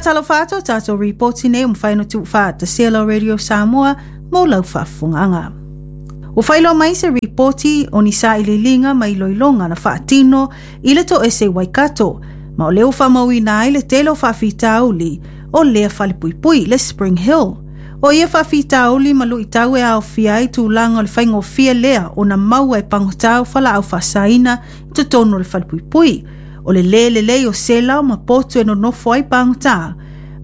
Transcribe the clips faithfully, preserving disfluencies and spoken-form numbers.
Faatalofa atu o tatou ripoti nei ua mafai ona tuufaatasia e lau Radio Samoa mo lau faafofogaaga. Ua faailoa mai se ripoti o ni sailiiliga ma iloiloga na faatino i le toese i Waikato, ma o lea ua faamauina ai le tele o faafitauli o lea falepuipui, le Spring Hill. O ia faafitauli ma luitau e aofia ai tulaga o le faigofie lea ona maua e pagota o falaau faasaina i totonu o le falepuipui, o le lē lelei o sela ma potu e nonofo ai pagota,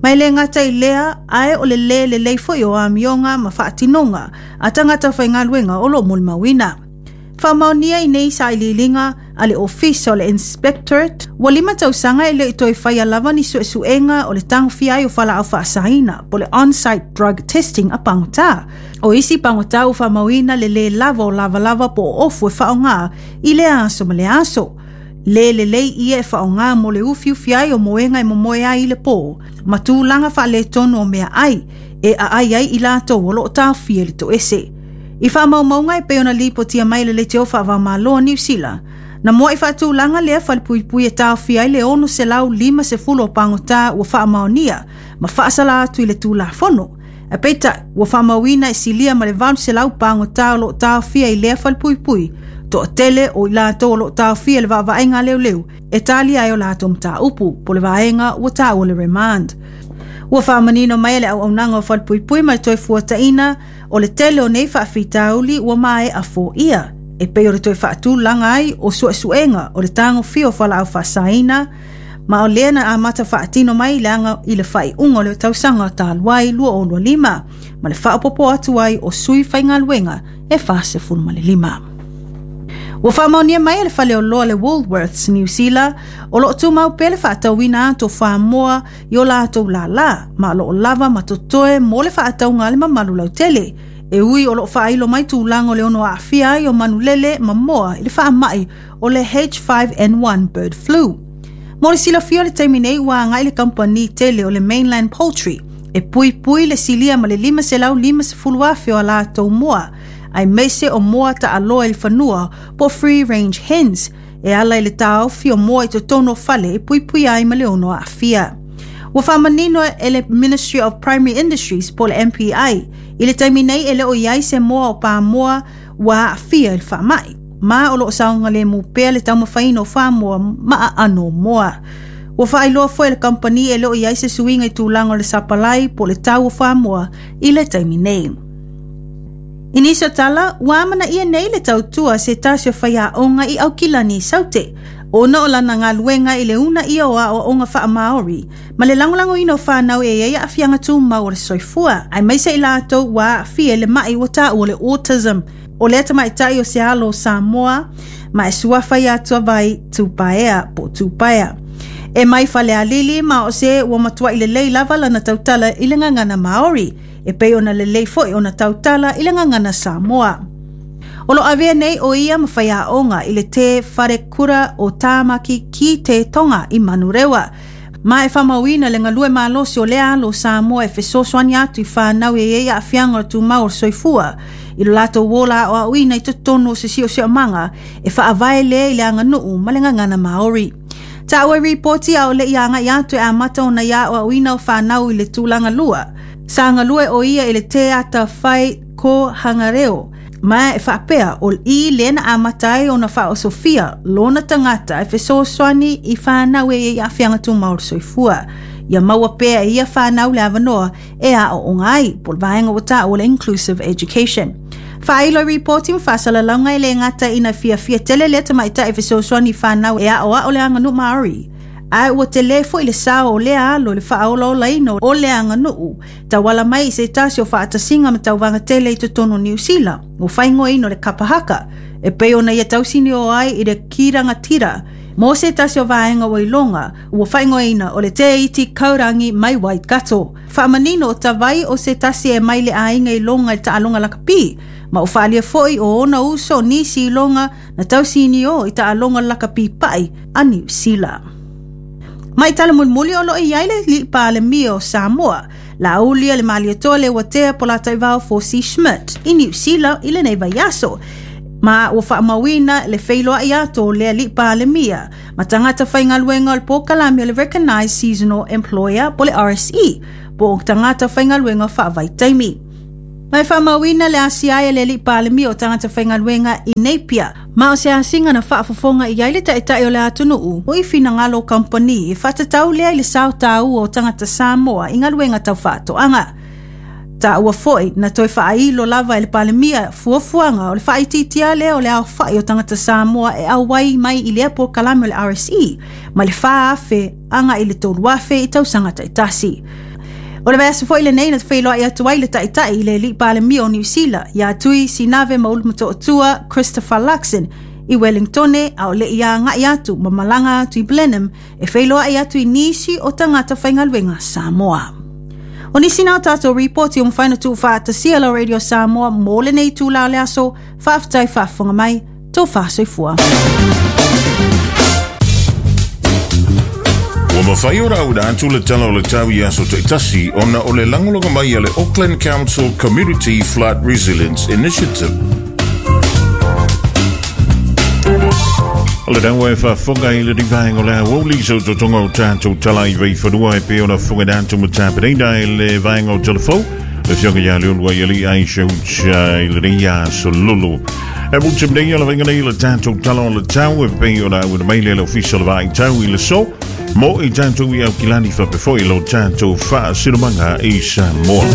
ma e le gata i lea ae o le lē lelei foi o amioga ma faatinoga a tagata faigaluega o loo molimauina. Faamaonia i nei sailiiliga a le Ofisa o le Inspectorate, ua lima tausaga e le i toe faia lava ni suesuega o le tagofia ai o falaau faasaina po le on-site drug testing a pagota. O isi pagota ua faamauina le lē lava o lavalava po o ofu e faaaoga i lea aso ma lea aso. Le lelei ia e faaaoga mo le ufiufi ai o moega e momoe ai i le pō, ma tulaga faaletonu o meaai e aai ai i latou o loo taofia i le toese. I faamaumauga e pei ona lipotia mai le leitio faavaomalo a Niu Sila, na muai faatulaga lea falepuipui e taofia ai le ono selau lima sefulu o pagota ua faamaonia ma faasala atu i le Tulafono. Ae peitai, ua faamauina e silia ma le valu selau pagota o loo taofia i lea falepuipui, toatele o i latou o loo taofia i le vaavaaiga a leoleo e talia ai o latou mataupu po le vaega ua taua le remand. Ua faamanino mai e le auaunaga o falepuipui ma le toe fuataina o le tele o nei faafitauli ua maea foia, e pei o le toe faatulaga ai o suesuega o le tagofia o falaau faasaina, ma o lea na amata faatino mai le aga i le faaiuga o le tausaga talu ai lua o lua lima, ma le faaopoopo atu ai o sui faigaluega e fasefulu ma le lima. Ua faamaonia mai e le faleoloa le Woolworths Niu Sila o loo tumau pea le faatauina atu o famoa i o latou lālā, ma o loo lava ma totoe mo le faatauga a le mamalu lautele, e ui o loo faailo mai tulaga o le ono aafia ai o manulele ma moa i le faamai o le H five N one bird flu. Mo le silafia o le taimi nei ua agai le kamupani tele o le Mainland Poultry e puipui le silia ma le lima selau lima sefulu afe o a latou moa, aemaise o moa taaloa i le fanua po free range hens, e ala i le taofi o moa i totonu o fale e puipui ai ma le ono aafia. Ua faamanino e le Ministry of Primary Industries po le M P I i le taimi nei e le o iai se moa o pamoa ua aafia i le faamai, ma o loo saogalemu pea le taumafaina o famoa ma aano o moa. Ua faailoa foi e le kamupani e le o iai se suiga i tulaga o le sapalai po le tau o famoa i le taimi nei. I nisi o tala, ua amanaia nei le tautua se tasi o faiaoga i Aukilani i Saute, ona o lana galuega i le una ia o aoaoga faamaori, ma le lagolagoina o whanau e ia aafiaga tumau o le soifua, aemaise i latou ua aafia i le mai ua taua o le autism. O lea tamaitai o se alo o Samoa, ma e suafa ia Tuavai Tupaea po Tupaea. E mai Falealili ma o se ua matuai lelei lava lana tautala i le gagana Maori, e pei ona lelei foi ona tautala i le gagana Samoa. O lo avea nei o ia ma whaiaonga i le te wharekura o Tāmaki ki te Tonga i Manurewa. Ma e whamauina le ngalue malosi o lea alo Samoa e fesoasoani atu i whanau e ia aafiaga o tumau o le soifua, i lo latou ola aoaoina i totonu o se siosiomaga e faavae lea i le aganuu ma le gagana Maori. Taua e ripoti a o le ia agai atu e amata ona ia aoaoina o whanau i le tulaga lua. Sa galue o ia i le te ata whai ko hangareo, ma e faapea o i lea na amata ai ona faaosofia lona tagata e fesoasoani i whanau e ia aafiaga tumau o le soifua. Ia maua pea e ia whanau le avanoa e aooga ai po le vaega ua taua o le Inclusive Education. Faailo ripoti ma faasalalauga e le gata ina fiafia tele lea tamaitai e fesoasoani i whanau e aoao le aganuu Maori, ae ua tele foi le sao o lea alo i le faaolaolaina o le aganuu tauala mai i se tasi o faatasiga ma tauvaga tele i totonu o Niu Sila, ua faaigoaina o le kapa haka, e pei ona ia tausini o ai i le kirangatira mo se tasi o vaega ua iloga ua faaigoaina o le Te Iti Kaurangi mai Waikato. Faamanino o tavai o se tasi e mai le aiga iloga i le taaloga lakapi, ma o faalia foi o ona uso o nisi iloga na tausini o i taaloga lakapi pai a Niu Sila. Mai tala mulimuli o loo i ai le alii Palemia o Samoa, Laulia le Malietoa le Uatea po Lataivao Fosi Schmidt i Niu Sila i lenei vaiaso. Ma ua faamauina le feiloai atu o le alii Palemia ma tagata faigaluega o le polokalame o le Recognised Seasonal Employer po le R S E po o tagata faigaluega faavaitaimi. Ma e faamauina le asia ai e le alii Palemia o tagata faigaluega i Napier. Ma o se asiga na faafofoga i ai le taitai o le atunuu o i finagalo o kamupani e faatatau lea i le sao taua o tagata Samoa i galuega tau faatoaga. Ta ua foi na toe faailo lava e le Palemia fuafuaga o le faaitiitia lea o le aofai o tagata Samoa e auai mai i lea polokalame o le R S E ma le fa afe aga i le tolu afe i tausaga taitasi. O le vaiaso foi lenei na feiloai atu ai le taitai i le alii Palemia o Niu Sila ia Tui Sinave Maulu Motootua Christopher Luxon i Wellingtone a o le ia agai atu ma malaga atu i Blenheim e feiloai atu i nisi o tagata faigaluega Samoa. O nisi na o tātou ripoti o mawhai na tuufaatasia la Radio Samoa mō lenei tūlā o le aso, faafetai faafofoga mai, tō faasoifua. Ua mawhai o rau atu le tala o le tau i aso taitasi ona o le lagolago mai a le Auckland Council Community Flood Resilience Initiative. O le daua e faafofoga i le vaega o le aoauli so totoga o tatou tala i vaifanua e pei ona fofoga atu ma tapenaina e le vaega o telefou le fioga ia leolua i alii Aisha Ucha i lenei aso lulu. E mutu nei o le vaega nei le tatou tala o le tau e pei ona auina mai le le ofisa o le vaaitau i le so mo i tatou i Aukilani faapefoi lo tatou faasilomaga i Samoa.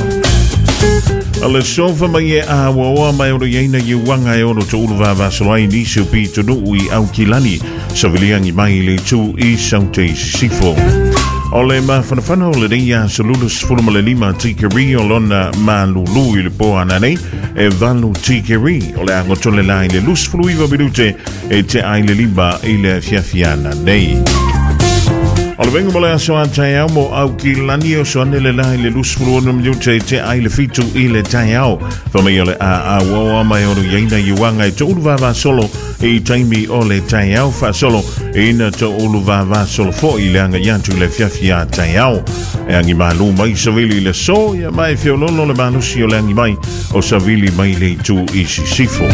A le sofa mai e a waoa mai oro iaina i uanga e ono to ulu vavasolo ai nisi o pitonuu i Aukilani saviliangi mai le tu i saute i sisifo. O le mafanafana o le nei aso lulu sefulu ma le lima tikeri o lona malulu i le po ananei e valu tikeri o le agotole la i le lusefulu iwa minute e te ai le lima i le afiafiana nei. O le venga mo le aso a taeao mo Aukilani o so ane le la i le lusefulu ono minute te ai le fitu i le taeao. Whamai o le a a waoa mai ono iaina i uanga e te ulu vavasolo i taimi o le taeao faasolo ina te ulu vavasolo fo i le anga iatu i le fiafia taeao. E angi malu mai savili i le so ia mai feololo le malusi o le angi mai o savili mai le itu i sisifo.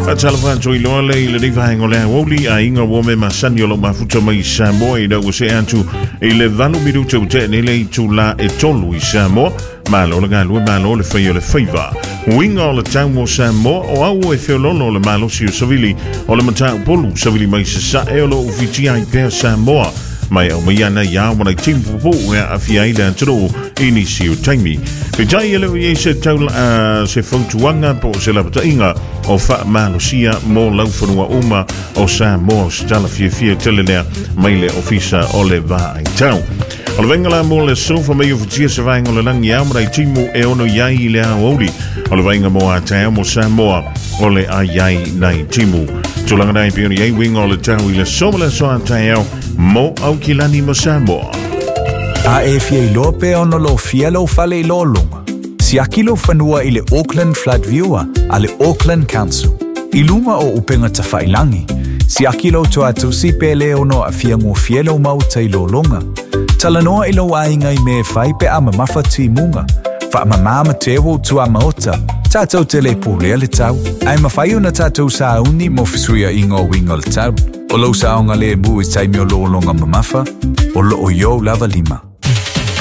A tala whanto i loa le i le vaega o le aoauli a inga ua me masani o lau mafuta mai Samoa i lau se atu i le valu minuta o te nele i tūlā e tolu i Samoa. Malo le galue malo le whai o le whaiva. Uinga o le tau mo Samoa o au e feololo le malosi o savili o le matau polu savili mai sa e o lo ufitia i pea Samoa. Mai au mai ana ia wana timu pupu e awhia i le atunuu i nisi o taimi. Pitai ele o iei se taula uh, se fautuanga po se lapatainga o whaamalosia mo lauwhanua uma o Samoa se tala fiafia tele mai le ofisa o le vaai tau. O le vaenga la mo le sofa mai o futia se vaenga o le langi au marai timu e ono iai i le aoauli. O le vaenga mo a taeo mo Samoa o le ai ai nei timu. Tulaga nai pioni ai winga o le tau i le soma le soa taeo mo Aukilani mo Samoa. A e fia iloa pe ona lo fia lau fale i lolonga. Siaki lau fanua i le Auckland Flood Viewer a le Auckland Council. I lunga o upenga tawhailangi. Siaki lau tuatusi pe le ono a fia ngofia lau mauta i lolonga. Talanoa i lau ainga i me whai pe a mamafa timunga. Wha mamama te wo tua maota. Tātou te le pōlea le tau. Ai mawhai ona tātou sāuni mo fisuia inga o winga le tau. O lau saonga le mu i taimi o lolonga mamafa. O loo iou lava lima.